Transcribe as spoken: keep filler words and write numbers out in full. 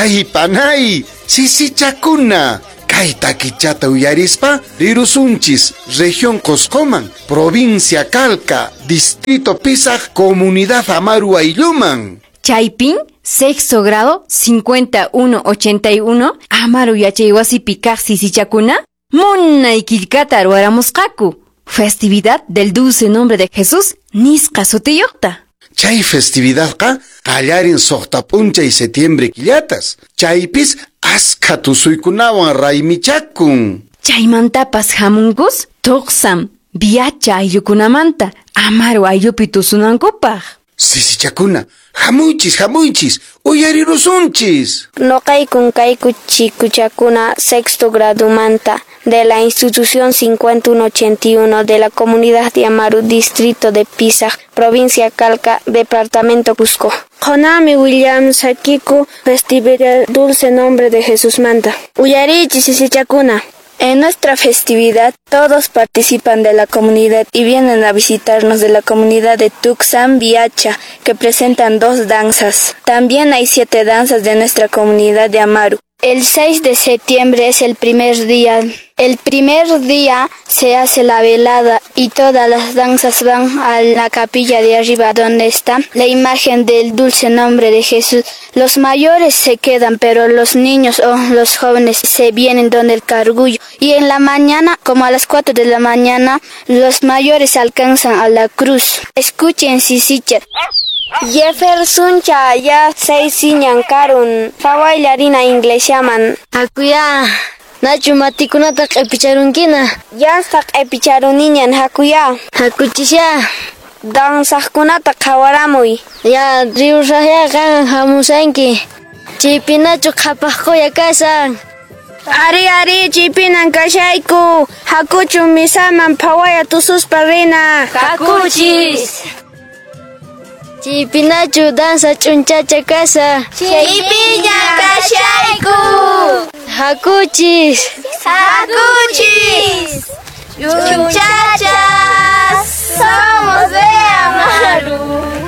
Ay, panay, sisichakuna. Kay takichata uyarispa rirusunchis región Cuscoman, provincia Calca, distrito Pisac, comunidad Amaru aylluman. Chaypin, sexto grado, cincuenta y uno ochenta y uno, Amaru yachaywasipi kaq sisichakuna, munay killkata ruwaramusqaku. Festividad del Dulce Nombre de Jesús, nisqa sutiyuqta. Chay festividadqa qallarin suqta p'unchay setiembre killatas. Chaypis askha tusuykunawan raymichakun. Chaymantapas hamunkus Tuqsam, Viacha ayllukunamanta Amaru ayllupi tusunankupaq. Sisichakuna, hamuychis, hamuychis, uyarirusunchis. Noqaykun kayku chikuchakuna sexto gradumanta de la institución cincuenta y uno ochenta y uno de la comunidad de Amaru, distrito de Pisac, provincia Calca, departamento Cusco. Qunanmi willamusaykiku festividad Dulce Nombre de Jesús manta. Uyariychis, sisichakuna. En nuestra festividad todos participan de la comunidad y vienen a visitarnos de la comunidad de Tuxam Viacha, que presentan dos danzas. También hay siete danzas de nuestra comunidad de Amaru. El seis de septiembre es el primer día. El primer día se hace la velada y todas las danzas van a la capilla de arriba donde está la imagen del Dulce Nombre de Jesús. Los mayores se quedan, pero los niños o los jóvenes se vienen donde el cargullo. Y en la mañana, como a las cuatro de la mañana, los mayores alcanzan a la cruz. Escuchen, sisicha. Jefferson cha ya seis karun phawaylla rina iglesiaman. Hakuya, nachu matikunata q'ipicharunkina? Yansa q'ipicharuniñan, hakuya. Hakuchisya. Dansaqkunata qhawaramuy. Ya, riusaqya, qan hamusanki. Chaypinachu qhapaq quya kashan? Ari, ari, chaypinan kashayku. Hakuchun misaman phawaya tususpa rina. Hakuchis. Chaypinachu danza ch'unchacha kashan? Chaypiña kashayku. Hakuchis. Hakuchis. Ch'unchacha.